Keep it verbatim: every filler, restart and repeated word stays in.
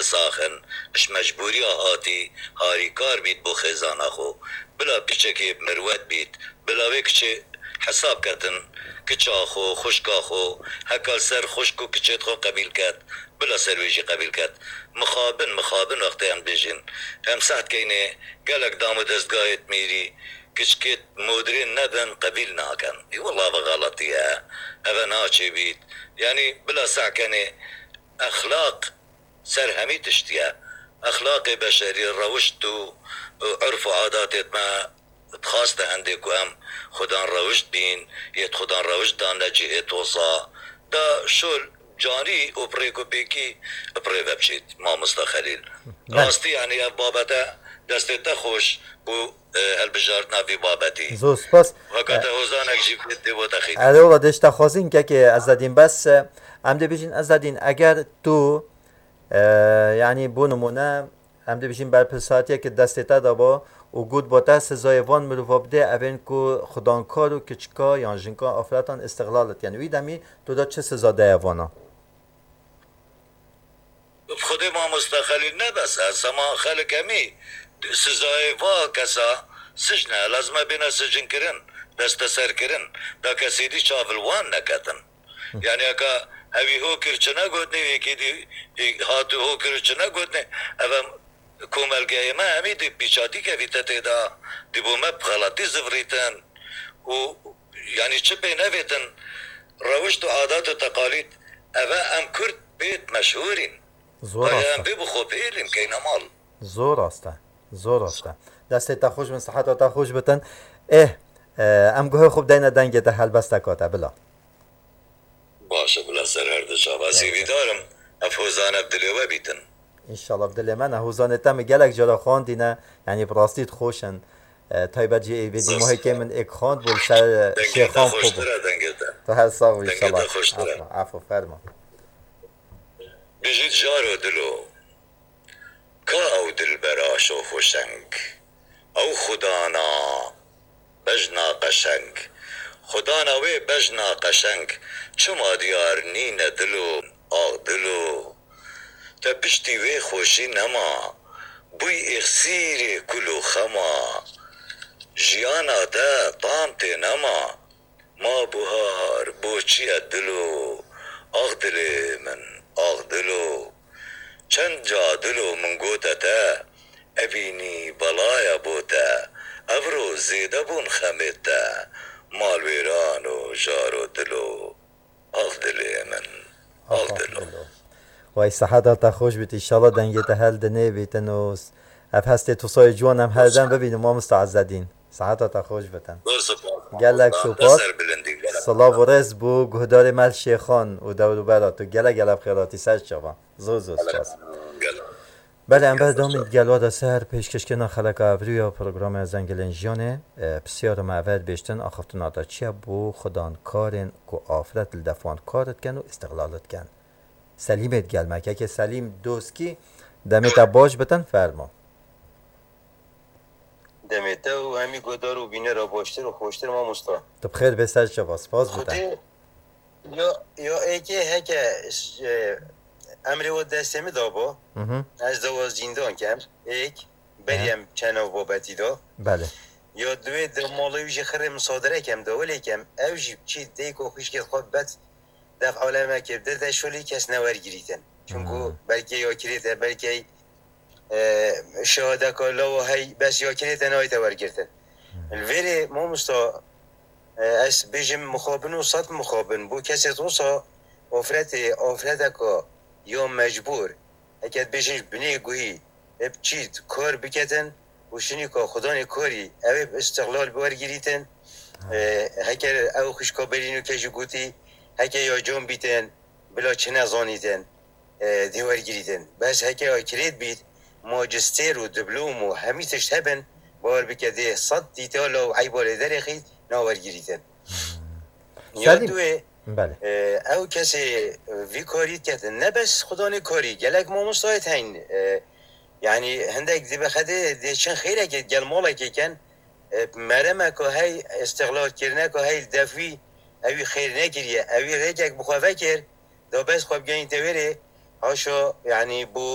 sax in, ji mecbûriya hatî harîkar bît bo xêzana xwe. Bila piçekê mirwet bît, bila wê kiçê hesab ketin, kiça xwe, xwişka xwe, heka li ser xwişk û kiçê xwe qebîl ket, bila ser wê jî qebîl ket. Mixabin, mixabin wextê em dibêjin. Em seh dikeynê gelek dam û destgahê mîrî, kiçikê modrên nebin, qebîl nakin. Ê wela ve xeletî ye. Eve naçê bît. Yanî bila seh kenê, exlaq ser hemî tişt ye. Exlaqê beşerî, rewişt û, û urf û adatê me dixwaste hindê ku em xudan rewişt bîn, yê xudan rewişt dan ne cihê tosa. Da şol canî û bi rêk û pêkî bi rê ve biçît, mamosta Xelîl. Belê. Rastî, yanî ev babete destê te xweş û, e, hilbijartina vî babetî. Zor spas. Weka te hozanek jî vê dê bo te xîr. Erê wela dê ji te xwazîn kekê Ezedîn, bes, e, em dê bêjin Ezedîn, eger tu, e, yanî bo nimûne, em dê bêjin berpirsatiyeke destê te de bo û got bo te sizayê van mirova bidê, evên ku xudankar û kiçika yan jinka afretan îstixlal dikin. Wî demî tu de çi siza daye vana? Bi Xwedê mamosta Xelîl ne bes e, sema xelk hemî sizayê va kesa sicn e, lazim e bêne sicnkirin, desteserkirin, da kesê dî çav li wan neketin. Yanî heka hewî ho kir çi negotnê, yekê dî, ê, hat û ho kir û çi negotnê, ev em komelgeyê me hemî dî pîçatî kevîte tê de, dî bo me bi xeletî zivirîtin û yanî çi pê nevêtin, rewişt û adat û teqalîd, eve em Kurd pê meşhûr în. Zor Aya rast em e. Pê bi xwe pêlîn keyne mal. Zor rast e. Zor rast e. Destê te xweş bin, siheta te xweş bitin. Ê, e, em guhê xwe bideyne dengê te helbesteka te, bila. Baş e, bila ser her du çava. Sêvîdar im, ev hozane bi dilê we bîtin. Înşallah bi dilê me ne. Hozanê te min gelek cara xwendîne, yanî bi rastî xweş in. E, taybet jî êvê dî Zor. Mohekê min êk xwend bû, li ser, e, Dengê te Şêxan xweş bû. Xweştir e, dengê te. Tu her sax bî, Dengê te înşallah. Xweştir e. Afo, afo, fermo. Bijît jaro dilo. Ka ew dilbera şoxweşeng, ew xudana bejna qeşeng, xudana wê bejna qeşeng, çima diyar nîne dilo, ax dilo? Te piştî wê xweşî nema, bûy êxsîrê kul û xema, jiyana te tam tê nema. Ma buhar bo çi ye dilo, ax dilê min, ax dilo. Çend ca dilo min gote te, evînî belaya bo te, evro zêde bûn xemê te, malwêran û jaro dilo, ax dilê min, ax dilo. Way seheta te xweş bît, înşallah dengê te hel dinê bîtin û s-, ev hestê tu sayê ciwan em her dem bibînin, mamosta Ezzedîn. Seheta te xweş bitin. Zor spas. Gelek spas. Te ser bilindî, gelek. Silav û rêz bo guhdarê me li Şêxan û dewrûbera tu. Gelek gelek bi xêr hatî ser çava. Zor zor spas. Gelek. Belê, em berdewamî digel we de ser pêşkêşkirina xeleka evrî ya programê Zengilên Jiyanê, e, pisyara me ev e dibêjtin, axaftina te çi ye bo xudankarên ku afret li def wan kar dikin û îstixlal dikin? Selîmê digel me. Kekê Selîm Doskî, demê te baş bitin, fermo. Demê te û hemî guhdar û bînera baştir û xweştir, mamosta. Tu bi xêr bê ser çava, spas bi te. Xwedê, ya, ya êkê heke, e, emrê we destê min da bo, Mhm. ez dawa zîndan kem, êk, berî He. em çend nav babetî da. Belê. Ya duê di mala wî jî xirê misadere kem da, welê kem, ew jî çî dêko xwişkê xwe bet def aleme kir, di de şolî kes newergirîtin. Çunku Hmm. belkê ya kirête, belkê, e, şahadeka lawa hey, bes ya kirête nayte wergirtin. Hmm. Li vêrê mamosta, e, ez bêjim mixabin û sed mixabin. Bo kesê wisa afretê, afreteka ya mecbûr, heke dibêjin ji binê guhî, ê bi çî kar biketin û şinîka xudanê karî, ew ê bi îstixlal bi wergirîtin. Ha. E, heke ew xwişka berî nûke jî gotî, heke ya can bîtin, bila çi nezanîtin, e, dê wergirîtin. Bes heke ya kirêt bît, majistêr û diplom û hemî tişt hebin, bawer bike dê sed dîtala û eyba lê derêxît, nawergirîtin. Hmm. Ya Selîm. duê, Belê. E, ew kesê vî karî diketin. Ne bes xudanê karî, gelek mamostayê teyn. E, yanî hindek dibe xedê dê çin xêrekê gel malekê ken, e, meremeka hey, îstixlalkirineka hey li def wî, ewî xêr nekiriye. Ewî rêkek bi xwe vekir, da bes xwe bigeynîte wêrê, haşa, yanî bo